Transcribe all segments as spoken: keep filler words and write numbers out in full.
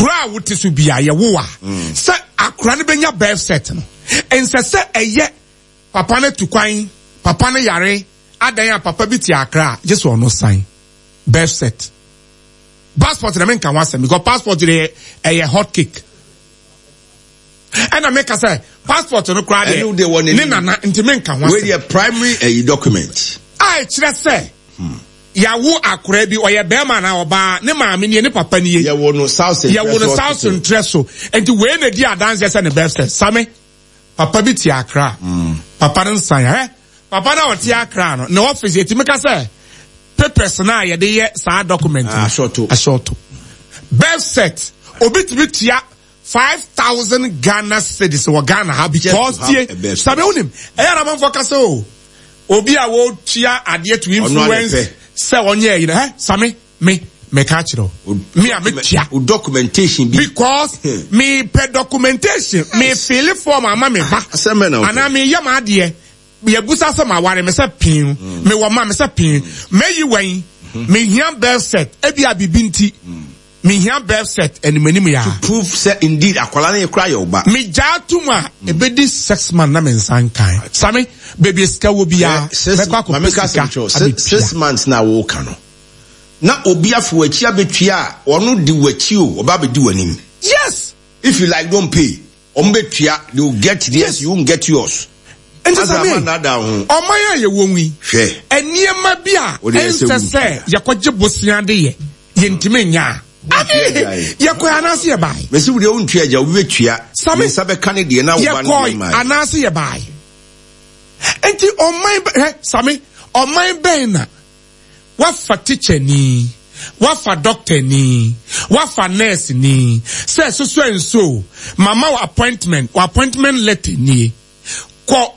Kuro a wote so bia yɛwo a, sɛ akora no bɛnya birth cert no, ɛnsɛ sɛ ɛyɛ papa no tu kwan, papa no yare adan a papa bi te Akra a gye sɛ ɔno sign birth cert. Passport na menka ho asɛm because passport de ɛyɛ hot cake. Ɛna meka sɛ passport no koraa Ɛno deɛ wɔ deɛ n'anim. Ne nana nti menka ho Wei asɛm. Deɛ primary ɛyi document. A ɛkyerɛ sɛ yàwó akora bi, ɔyɛ bɛrima na ɔbaa, ne maame nie, ne papa nie. Yɛwɔ no South Yɛwɔ no South Ntrɛ so, nti wei na di adanseɛ sɛ ne birth cert. Same papa bi te Akra, papa no nsan ɛ papa no a ɔte Akra no ne office, yɛtumi ka sɛ papers na a yɛde yɛ saa document no Asɔto. Asɔto birth cert, obi tumi tua five thousand Ghana cedis wɔ Ghana ha because Just to have tie a birth same wonim ɛyɛ na amanfoɔ kasa o, obi a wɔtua adeɛ to influence pɛ. Sɛ ɔnyɛ ɛyi no ɛ same me meka kyerɛ o, me a metua O documentation bi. Because me pɛ documentation, me fill form ama me ba Asɛm bɛ na wopɛ. Anaa me yɛ ma adeɛ, yɛbusa sɛ ma ware, me sɛ pin, me wɔ ma, me sɛ pin, meyi wɛn, me hia birth cert, ebi a bibi nti me hia birth cert anim anim ya. Proof sɛ indeed akwala no yɛ kora yɛ ɔba. Me gyaa tum a ebedi six months na me nsa nkan. Same beebi sika wɔ biara, mɛkɔ akɔpɛ sika abɛtua. Six months na wɔka no na obi afo w'akyi abɛtua a, ɔno di w'akyi o, ɔba abɛdi w'anim. Yes. If you like, don't pay. Ɔmo bɛtua, they will get theirs. Yes. You won't get yours. Nti Asa same ama nada ho. Ɔman a yɛwɔ mu yi, Hwɛ. Nneɛma bi a Wode ɛsɛ ɛnsɛ wo sɛ yɛkɔgye bosea de yɛ, yɛntumi nya a ame yɛkɔɛ anaasɛ yɛbae. Mesi wo deɛ wontua agya, obi bɛtua. Same. Ne nsa bɛka ne deɛ na wo ba no deɛ Yɛkɔe ma. Anaasɛ yɛbae. Nti ɔman bɛ hɛ same ɔman bɛn na wafa teacher ni, wafa doctor ni, wafa nurse ni, sɛ soso nso mama wo appointment, wo appointment letter nie, kɔ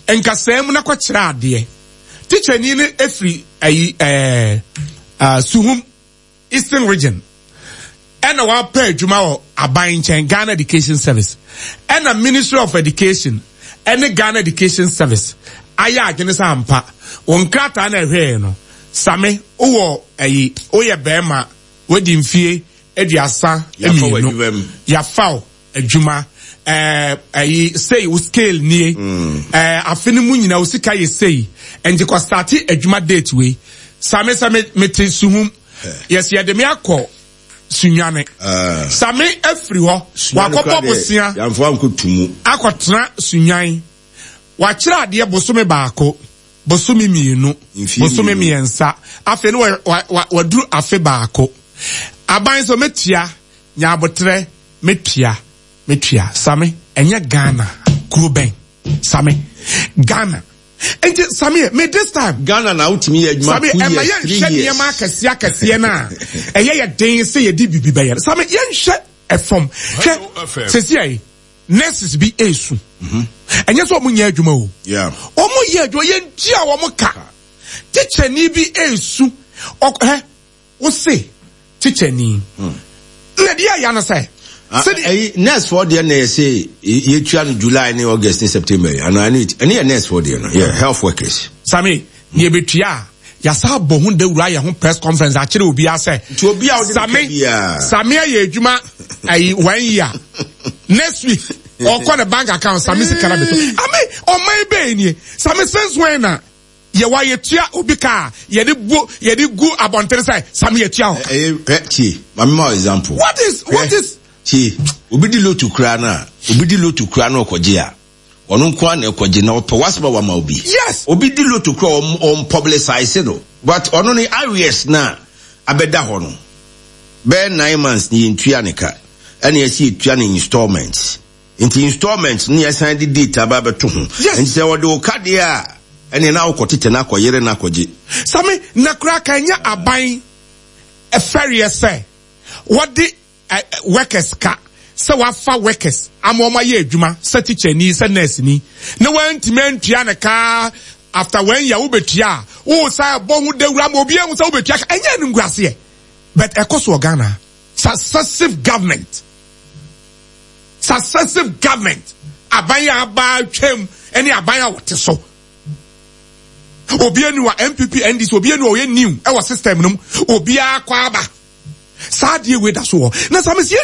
nkasaa mu na kɔkyerɛ adeɛ. Teacher ni no efiri ayi ɛɛ uh, Suhum, Eastern Region, ɛna wapɛ adwuma wɔ aban nkyɛn, Ghana Education Service, ɛna Ministry of Education ɛne Ghana Education Service ayɛ adwene sɛ ampa wɔn nkrataa na ɛhwɛɛ no, same wowɔ ɛyi, woyɛ bɛrima, wadi mfie aduasa Yafa wɔ mmienu, adwuma mu. Yafa wo adwuma, ɛɛ ɛyi sei, wo scale nie, ɛɛ afe no mu nyinaa wo sika yɛ sei, nti kɔ start adwuma date wei. Same sɛ me mete Suhum, yɛsi yɛde me akɔ Sunyane, Ah. same afiri hɔ wakɔbɔ bosea Yɛmfa ankɔtu mu. Akɔtena Sunyan, wakyerɛ adeɛ bosome baako, bosome mmienu, Mfie bosome mmienu. mmiɛnsa, afei no wa- wa- wa- waduru afe baako. Aban sɛ mɛtua, nyaabotrɛ, mɛtua, mɛtua. Same ɛnyɛ Ghana kuro bɛn? Same Ghana nti same me this time Ghana na wotumi yɛ adwuma same two ɛma years, three yɛnhwɛ years. nneɛma akɛseɛ akɛseɛ no a ɛyɛ yɛ den sɛ yɛde bibi bɛyɛ no. Same yɛnhwɛ ɛfam hwɛ sɛsi ayi, nurses bi esu, ɛnyɛ sɛ ɔmo nyɛ adwuma o. Yeah. Ɔmo yɛ adwuma, yɛntua wɔn ka. Tikyɛni bi esu ɔk hɛ wose tikyɛni na deɛ ɛya no sɛ Ah, sɛdeɛ ɛyi nurse foɔ deɛ na yɛsɛ yɛtua no July ne August ne September yi ana? ɛne ɛne yɛ nurse foɔ deɛ no yɛ health workers. Same nea ebetua a, yasa abɔ ho dawuro, ayɛ ho press conference akyerɛ obiara sɛ Nti obi a wode ne ka same biara. Same ayɛ adwuma ayi one year, next week ɔkɔ ne bank account, same sika na bɛtɔ ame. Ɔman bɛyɛ nie? Same, since when na yɛwɔ yɛtua obi ka a yɛde bu yɛde gu abɔnten sɛ same yɛtua hɔ? Ɛyɛ hwɛ, tie, maame ma wo example. What is what Hwɛ, is tie, obi di lotto kura no a, obi di lotto kura no ɔkɔgye a, ɔno nko ara na ɛkɔgye na ɔpɛ wasɛm a wama obi. Yes. Obi di lotto kura, ɔm ɔm publicize no, but ɔno ne arrears na abɛda hɔ no bɛyɛ nine months ne yɛntua ne ka, ɛna yɛsi yɛtua ne installment, nti installment ne yɛsan de date aba abɛto ho. Yes. Nti sɛ wɔde wo ka deɛ a, ɛne na wokɔ tete na akɔyere na akɔgye. Same na koraa ka ɛnyɛ aban ɛfɛreɛ sɛ wɔde ɛ, ɛ, workers ka sɛ wafa workers ama wɔn ayɛ adwuma, sɛ teacher ni, sɛ nurse ni, na wɔntumi antua ne kaa, after one year wobɛtua a, wosan bɔ ho dawuro ama obi ehu sɛ wobɛtua ka. Ɛnyɛ no nguaseɛ? But ɛkɔ so wɔ Ghana. Successive government, successive government, aban a aba atwam ɛne aban a wɔte so, obi anu wa N P P, N D C, obi anu a ɔyɛ new ɛwɔ system no mu, obiara kɔ aba saa adeɛ wei da so wɔ na same si yɛntumi.